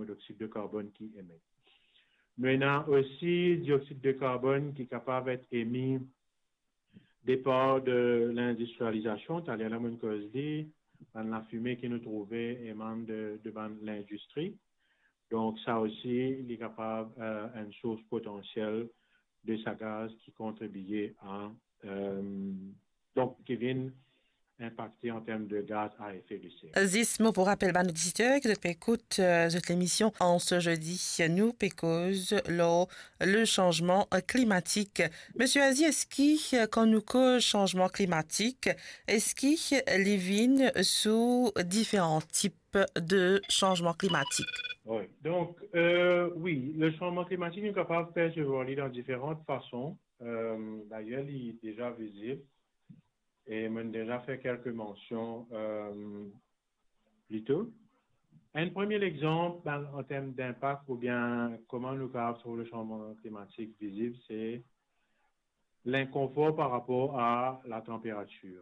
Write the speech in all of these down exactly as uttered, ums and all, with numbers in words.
loksid de karbonn ki emet. Nou ena osi dioxyde de carbone ki kapav et emi depar de lindistrializasion. Taler la, mo'nn koz li, bann lafime ki nou trouve emann de, de bann lindistri. Donk, sa osi, li kapav, euh, enn sours potansiel de sa gaz ki kontribie a, euh, donk, ki vinn inpakte an term de gaz a efe de ser. Zis mo pou rapel bann oditer ki zot pe ekout, euh, zot lemision an se zedi, nou pe koz lor le sanzman klimatik. Misie Azi, eski, euh, kan nou koz sanzman klimatik, eski li vinn sou diferan tip de sanzman klimatik? Wi. Donk, euh, wi, le sanzman klimatik, nou kapav persevwar li dan diferan fason. Euh, dayer, li deza vizib. E mo'nn deza fer kelke mansion, euh, pli to. Enn premie lexanp, ben, an term dinpak oubien kouma nou kapav trouv le sanzman klimatik vizib, se linkonfor par rapor a latanperatir.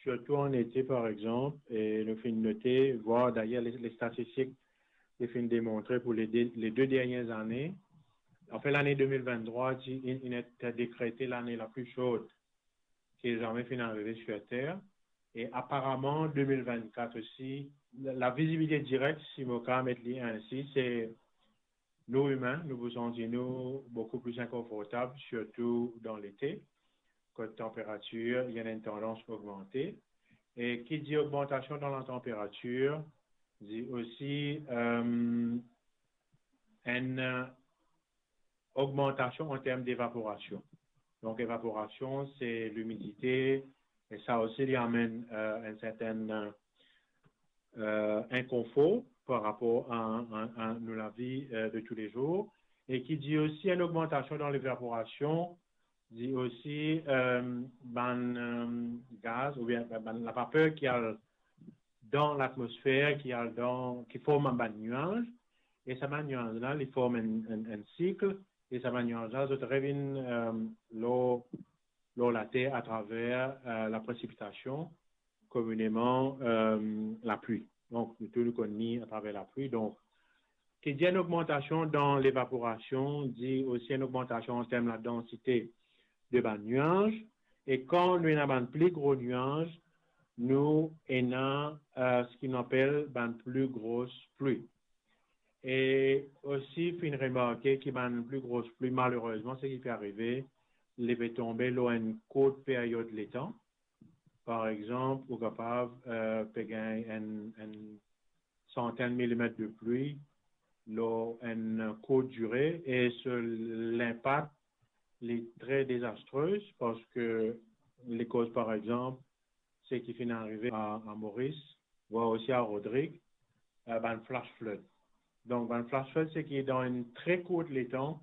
Sirtou an ete, par exanp, e nou finn note, vwar dayer le, le statistik, li finn demontre pou le de, le de dernie ane, anfin, lane de mil venntrwa, ti, inn, inn et dekrete lane la pli sho ki zame finn arive sir Ter. E aparaman, de mil vennkat osi, la, la vizibilite direk, si mo kapav met li ensi, se nou imin, nou pou santi nou boukou pli inkonfortab, sirtou dan lete, kot tanperatir, li ena enn tandans ogmante. E ki dir ogmantasion dan latanperatir, dir osi, euh, enn, euh, ogmantasion an term devaporasion. Donk, evaporasion, se limidite, e sa osi, li amenn, euh, enn sertenn, euh, inkonfor par rapor a, a, a nou lavi, euh, de toulezour. E ki dir osi enn ogmantasion dan levaporasion, dir osi, euh, bann, euh, gaz oubien bann lapaper ki al dan latmosfer, ki al dan, ki form bann niaz, e sa bann niaz la, li form enn, enn, enn sik, e sa bann niaz la, zot revinn, euh, lor, lor Later atraver, euh, lapresipitasion, komineman, euh, lapli. Donk, nou tou nou konn li atraver lapli. Donk, ki dir enn ogmantasion dan levaporasion, dir osi enn ogmantasion an term ladansite de bann niaz. E kan nou ena bann pli gro niaz, nou ena, euh, seki nou apel bann pli gros pli. E osi finn remarke ki bann pli gros pli, malerezman, seki pe arive, li pe tonbe lor enn kourt period letan. Par exanp, ou kapav, euh, pe gagn enn, enn santenn milimet de pli lor enn kourt dire, e so linpak, li tre dezastre, parski li koz, par exanp, seki finn arive a, a Moris, vwar osi a Rodrig, euh, bann flash flood. Donk, bann flash flood, seki dan enn tre kourt letan,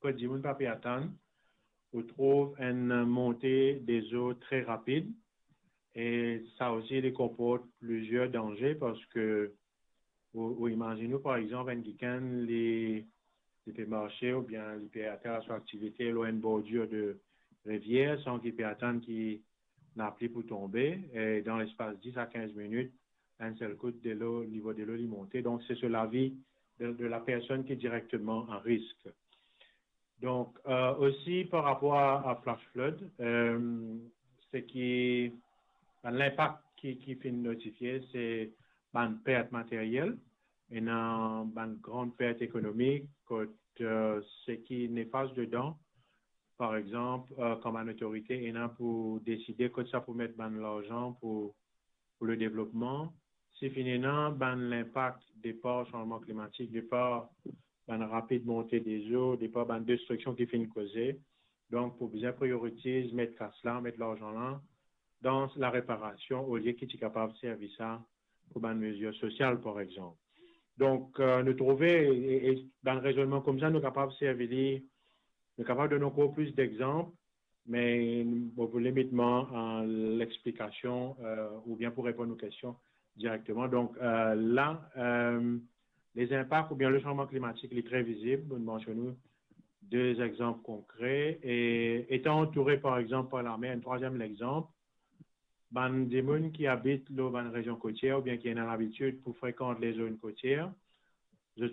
kot dimoun pa pe atann, ou trouv enn monte dezo tre rapid, e sa osi, li konport plizier danze, parski ou, ou imazinn ou, par exanp, enn kikenn, li, li pe marse oubien li pe atann so aktivite lor enn bordir de rivier, san ki pe atann ki lapli pou tonbe, e dan lespas dis a kinz minit, enn sel kout delo, nivo delo li monte. Donk, se so lavi de, de lapersonn ki direkteman a risk. Donk, euh, osi par rapor a, a flash flood, euh, seki bann linpak ki, ki finn notifie, se bann pert materyel, ena bann gran pert ekonomik, kot, euh, seki nefas dedan, par exanp, euh, kan bann otorite ena pou deside kot sa pou met bann larzan pou, pou le devlopman, si finn ena bann linpak depar sanzman klimatik, depar bann rapid monte dezo, depar bann destriksion ki finn koze. Donk, pou bizin prioritiz met kas la, met larzan la dan lareparasion, olie ki ti kapav servi sa pou bann mezir sosial, par exanp. Donk, euh, nou trouve, e, e bann rezonnman koumsa, nou kapav servi li, nou kapav donn ankor plis dexanp, me mo pou limit mwa a lexplikasion, euh, oubien pou reponn ou kestion direkteman. Donk, euh, la, euh, lezinpak oubien le sanzman klimatik, li tre vizib. Mo'nn mansionn ou de zexanp konkre. E etan antoure, par exanp, par lamer, enn trwaziem lexanp, bann dimoun ki abit lor bann rezion kotier oubien ki ena labitid pou frekant lezon kotier,